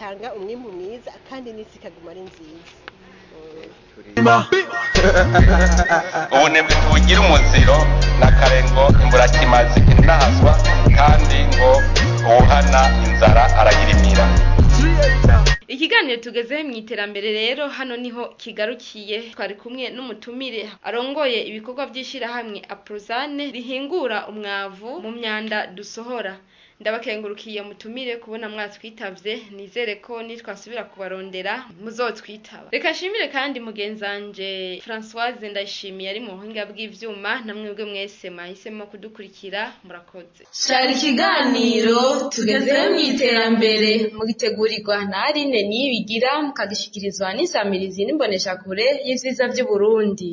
Bitanga umwimbu mwiza kandi n'isi ikaguma ari nziza. Ubunebwe tubugira umuziro na kare ngo imburakimazi inahazwa, kandi ngo uwuhana inzara arayirimira. Ikiganiro tugezeho mu iterambere rero hano niho kigarukiye. Twari kumwe n'umutumire arongoye ibikorwa by'ishyirahamwe Aprozane rihingura umwavu mu myanda dusohora. Ndabakengurukiye mutumire kubona mwatwitavye, nizere ko nitwasubira kubarondera muzotwitaba. Reka nshimire kandi mugenzanje Françoise Ndayishimiye ari mu buhinga bw'ivyuma, namwebwe mwese mwahisemo kudukurikira, murakoze. Shara ikiganiro tugezeho mu iterambere mugitegurirwa na Aline Niyibigira, mukagishikirizwa n'isamirizi n'imboneshakure y'ivyiza vy'Uburundi.